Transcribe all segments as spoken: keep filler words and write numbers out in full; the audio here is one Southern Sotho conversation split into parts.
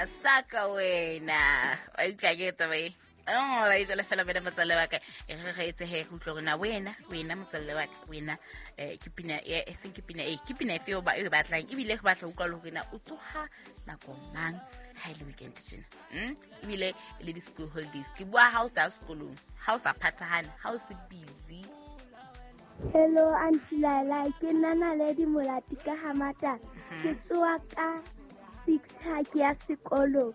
Saka wena wa utlwa ke taba e oh ba itse fela bana motswalle wa ka e re re etse he go utlwa rona wena wena motswalle wa ka wena eh ke pina e seng ke pina e ke pina efe o ba e batlang ebile re batla utlwa le hore na o tsoha nako mang ha ile weekend tjena mm ebile le di school holidays ke bua ha o sa sekolong ha o sa phathahane ha o se busy. Hello Auntie Laila, ke nna Naledi Molati ka Hamata. Ke tsoha ka six ha ke ya sekolong.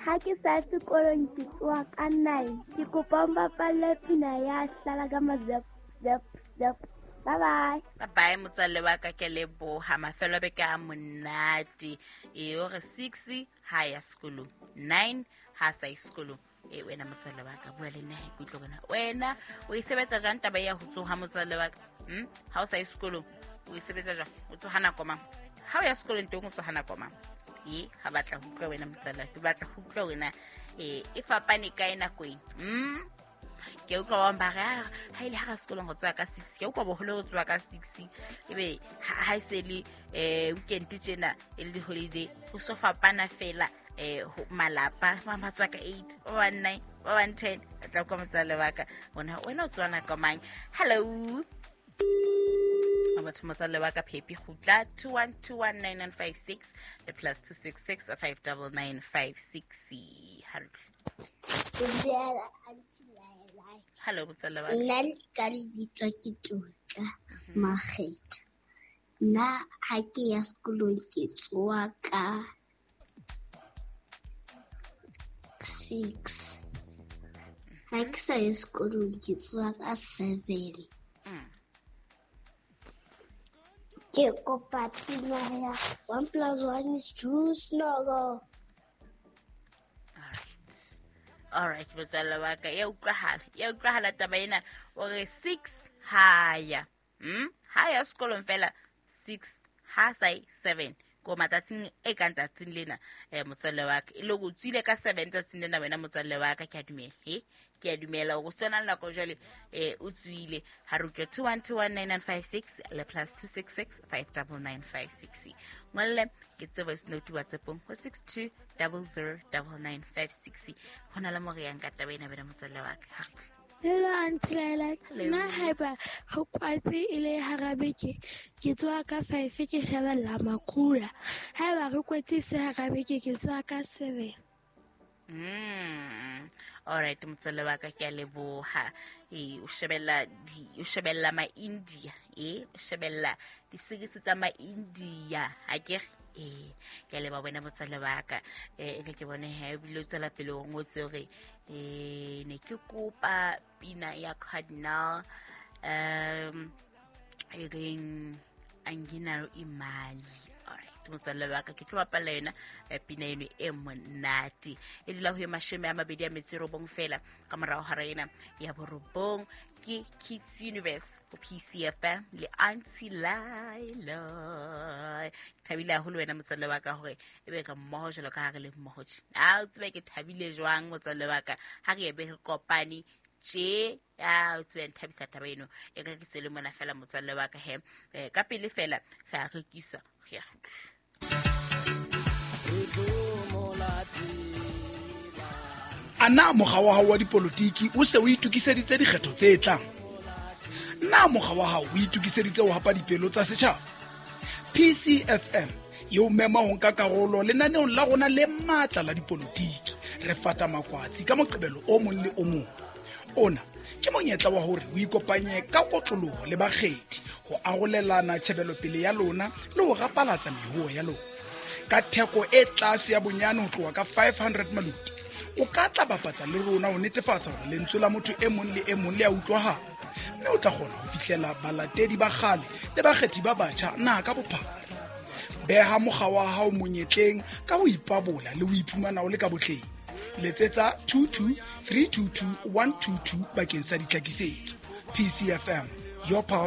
Ha ke sa sekolong ke tsoha ka nine. Ke kopa o mbapalle pina ya hlala ka mazep zep zep. Bye bye. Bye bye motswalle wa ka, ke leboha mafelo a beke a monate. E o re six ha ya sekolong, nine ha sa ye sekolong. E wena motswalle wa ka bua le nna ke utlwe bona wena o e sebetsa jwang taba ya ho tsoha motswalle wa ka? Hm ha o sa ye sekolong o e sebetsa jwang? O tsoha nako mang? Ha o ya sekolong teng o tsoha nako mang? E ha batla ho utlwa wena motswalle, ke batla ho utlwa wena e e fapane kae nako ena? Hm ke utlwa ba ba re ha ile ha ra sekolong go tsoha ka six, ke utlwa boholo go tsoha ka six ebe ha e se le eh weekend tjena e le holiday ho so fapana fela eh malapa ba ba tswa ka eight ba ba nine ba ba ten tla kwa motswalle wa ka bona wena o tsoha nako mang? Hello batho motswalle wa ka Phepi kgutla two one two one nine nine five six le plus two six six five nine nine five six. Hello motswalle wa ka. Nna ka lebitso ke Tlotla Makgetha. Nna ha ke ya sekolong ke tsoha ka six. Ha ke sa ye sekolong ke tsoha ka seven. Ke kopa pina ya one plus one is two snuggle. Alright. Alright, motswalle wa ka ya utlwahala. Ya utlwahala taba ena o re six ha ya. Hm? Ha ya sekolong fela six ha sai seven. Ko matsatsing e kang tsatsing lena eh motswalle wa ka e le go tswile ka seven tsatsing lena wena motswalle wa ka ke a dumela he ke a dumela go tsena nako jwale eh o tswile ha re utlwe two one two one nine nine five six le plus two six six five nine nine five six ngolle ke tse voice note WhatsAppong ho six two zero zero nine nine five six hona le mo re yang ka taba ena bana motswalle wa ka. Hello Auntie Laila, nna haeba re kwatse e le hara beke ke tsoha ka five ke shebella makula. Haeba re kwetse se hara beke ke tsoha ka seven. Mm. Alright motswalle wa ka ke a leboha. E o shebella di o shebella ma India e o shebella di series tsa ma India ha ke e ke a leboha wena motswalle wa ka e ke bone he ebile o tswela pele o ngotse hore e ne ke kopa pina ya Cardinal um e reng anginalo imali. Alright motswalle wa ka ke tlo bapala yona pina eno e monate e dula ho ye mashome a mabedi a metso e robong fela ka morao hara ena ya borobong ke Kids Universe ho P C F M le Auntie Laila. Ke thabile haholo wena motswalle wa ka hore e be re mmoho jwalo ka ha re le mmoho tje. A o tsebe ke thabile jwang motswalle wa ka ha re ebe re kopane tje a o tsebe nthabisa taba eno e re ke se le mona fela motswalle wa ka he ka pele fela re a rekisa re a kgutla. Ana mokga wa hao wa dipolotiki o se o itokiseditse dikgetho tse tlang? Na mokga wa hao o itokiseditse ho hapa dipelo tsa setjhaba? P C F M e o mema ho nka karolo lenaneong la rona le matla la dipolotiki. Re fata makwatsi ka Moqebelo o mong le o mong. Ona ke monyetla wa hore o ikopanye ka kotloloho le bakgethi ho arolelana tjhebelopele ya lona le ho rapalatsa mehoho ya lona. Ka theko e tlase ya bonyane ho tloha ka five hundred maluti, o ka tla bapatsa le rona ho netefatsa hore lentswe la motho e mong le e mong le a utlwahala, mme o tla kgona ho fihlela balatedi ba kgale le bakgethi ba batjha naha ka bophara. Beha mokga wa hao monyetleng ka ho ipabola le ho iphumana o le ka botleng. Letsetsa two two three two two one two two bakeng sa ditlhakisetso. P C F M, your power.